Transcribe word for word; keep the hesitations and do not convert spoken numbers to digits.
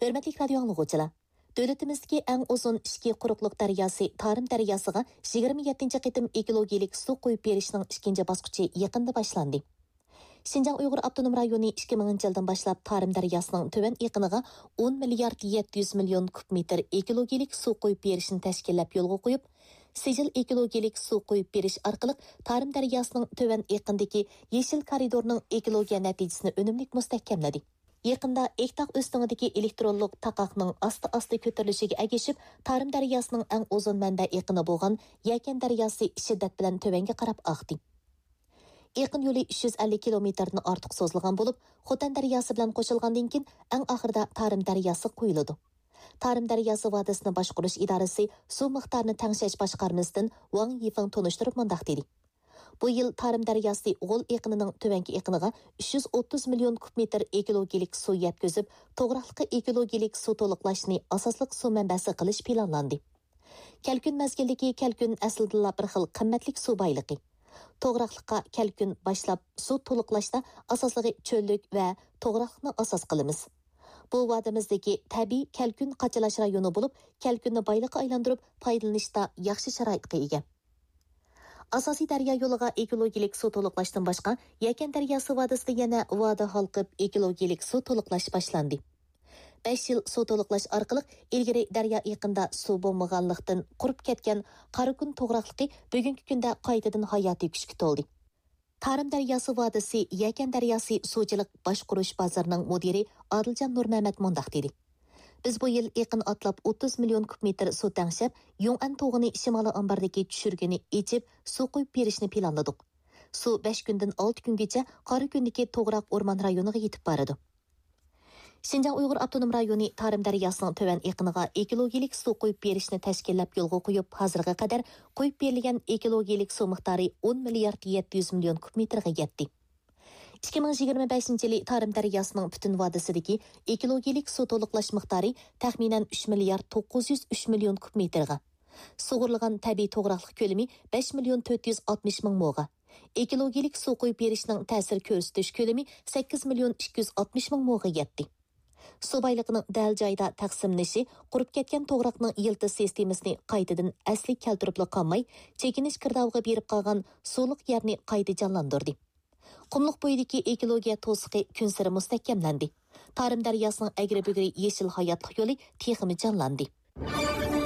ھۆرمەتلىك رادىيو ئاڭلىغۇچىلار! دۆلىتىمىزدىكى ئەڭ ئۇزۇن ئىچكى قۇرۇقلۇق دەرياسى تارىم دەرياسىغا يىگىرمە يەتتىنچى قېتىم ئېكولوگىيەلىك سۇ قۇيۇپ بېرىشنىڭ ئىككىنچى باسقۇچى يېقىندا باشلاندى. شىنجاڭ ئۇيغۇر ئاپتونوم رايونى ئىككى مىڭىنچى يىلدىن باشلاپ تارىم دەرياسىنىڭ تۆۋەن ئېقىنىغا ئون مىليارد يەتتە يۈز مىليون كۇب مېتىر ئېكولوگىيەلىك سۇ قۇيۇپ بېرىشنى تەشكىللەپ يولغا قويۇپ، سىجىل ئېكولوگىيەلىك سۇ قۇيۇپ بېرىش ئارقىلىق تارىم دەرياسىنىڭ تۆۋەن ئېقىندىكى يېشىل كارىدورنىڭ ئېكولوگىيە نەتىجىسىنى ئۈنۈملۈك مۇستەھكەملىدى. يېقىندا ئېكتاغ ئۆستىڭىدىكى ئېلېكترونلۇق تاقاقنىڭ ئاستا-ئاستا كۆتۈرۈلۈشىگە ئەگىشىپ، تارىم دەرياسىنىڭ ئەڭ ئۇزۇن مەنبە ئېقىنى بولغان يەكەن دەرياسى شىددەت بىلەن تۆۋەنگە قاراپ ئاقتى. ئېقىن يولى ئۈچ يۈز ئەللىك كىلومېتىردىن ئارتۇق سوزۇلغان بولۇپ، خوتەن دەرياسى بىلەن قوشۇلغاندىن كېيىن، ئەڭ ئاخىرىدا تارىم دەرياسى قۇيۇلىدۇ. تارىم دەرياسى ۋادىسىنى باشقۇرۇش ئىدارىسى سۇ مىقدارىنى تەڭشەش باشقارمىسىدىن ۋاڭ يىفېڭ تونۇشتۇرۇپ مۇنداق دېدى: بۇ يىل تارىم دەرياسى غول ئېقىنىنىڭ تۆۋەنكى ئېقىنىغا ئۈچ يۈز ئوتتۇز مىليون كۇب مېتىر ئېكولوگىيەلىك سۇ يەتكۈزۈپ، توغراقلىققا ئېكولوگىيەلىك سۇ تولۇقلاشنى ئاساسلىق سۇ مەنبەسى قىلىش پىلانلاندى. كەلكۈن مەزگىلىدىكى كەلكۈن ئەسلىدىنلا بىر خىل قىممەتلىك سۇ بايلىقى. توغراقلىققا كەلكۈن باشلاپ سۇ تولۇقلاشتا ئاساسلىقى چۆللۈك ۋە توغراقلىقنى ئاساس قىلىمىز. بۇ ۋادىمىزدىكى تەبىئىي كەلكۈن قاچىلاش رايونى بولۇپ، كەلكۈننى بايلىققا ئايلاندۇرۇپ پايدىلىنىشتا ياخشى شارائىتقا ئىگە. ئاساسىي دەريا يولىغا ئېكولوگىيەلىك سۇ تولۇقلاشتىن باشقا، يەكەن دەرياسى ۋادىسىدا يەنە ۋادە ھالقىپ ئېكولوگىيەلىك سۇ تولۇقلاش باشلاندى. بەش يىل سۇ تولۇقلاش ئارقىلىق ئىلگىرى دەريا ئېقىندا سۇ بولمىغانلىقتىن قۇرۇپ كەتكەن قاراكۈن توغراقلىقى بۈگۈنكى كۈندە قايتىدىن ھاياتىي كۈچكە تولدى. تارىم دەرياسى ۋادىسى يەكەن دەرياسى سۇچىلىق باشقۇرۇش بازىرىنىڭ مۇدىرى ئادىلجان نۇرمەمەت مۇنداق دېدى: بىز بۇ يىل ئېقىن ئاتلاپ ئوتتۇز مىليون كۇب مېتىر سۇ تەڭشەپ، يۇڭئەن توغىنى شىمالىي ئامباردىكى چۈشۈرگىنى ئېچىپ، سۇ قۇيۇپ بېرىشنى پىلانلىدۇق. سۇ بەش كۈندىن ئالتە كۈنگىچە قاراكۈندىكى توغراق ئورمان رايونىغا يېتىپ بارىدۇ. شىنجاڭ ئۇيغۇر ئاپتونوم رايونى تارىم دەرياسىنىڭ تۆۋەن ئېقىنىغا ئېكولوگىيەلىك سۇ قۇيۇپ بېرىشنى تەشكىللەپ يولغا قويۇپ، ھازىرغا قەدەر قۇيۇپ بېرىلگەن ئېكولوگىيەلىك سۇ مىقدارى ئون مىليارد يەتتە يۈز مىليون كۇب مېتىرغا يەتتى. ئىككى مىڭ يىگىرمە بەشىنچى يىلى تارىم دەرياسىنىڭ پۈتۈن ۋادىسىدىكى ئېكولوگىيەلىك سۇ تولۇقلاش مىقدارى تەخمىنەن ئۈچ مىليارد توققۇز يۈز ئۈچ مىليون كۇب مېتىرغا، سۇغۇرۇلغان تەبىئىي توغراقلىق كۆلىمى بەش مىليون تۆت يۈز ئاتمىش مىڭ موغا، ئېكولوگىيەلىك سۇ قۇيۇپ بېرىشنىڭ تەسىر كۆرسىتىش كۆلىمى سەككىز مىليون ئىككى يۈز ئاتمىش مىڭ موغا يەتتى. سۇ بايلىقىنىڭ دەل جايىدا تەقسىملىنىشى قۇرۇپ كەتكەن توغراقنىڭ يىلتىز سىستېمىسىنى قايتىدىن ئەسلىگە كەلتۈرۈپلا قالماي، چېكىنىش گىردابىغا بېرىپ قالغان سۇلۇق يەرنى قايتا جانلاندۇردى. قۇملۇق بويىدىكى ئېكولوگىيە توسۇقى كۈنسېرى مۇستەھكەملەندى. تارىم دەرياسىنىڭ ئەگرى-بۈگرى يېشىل ھاياتلىق يولى تېخىمۇ جانلاندى.